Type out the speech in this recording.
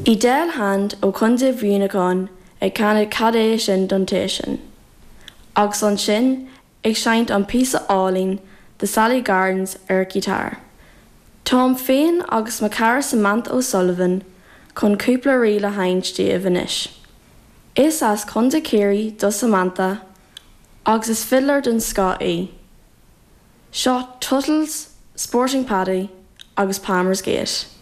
Edel Hand ó Chontae Mhuineacháin ag canadh Cad é sin don té sin? Agus ansin ag seinnt an píosa álainn The Sally Gardens ar a giotár. Táim féin agus mo chara Samantha O'Sullivan chun cúpla ríl a sheinnt daoibh anois. Is as Contae Chiarraí do Samantha agus is fidléir den scoth í. Seo Tuttle's, Sporting Paddy agus Palmer's Gate.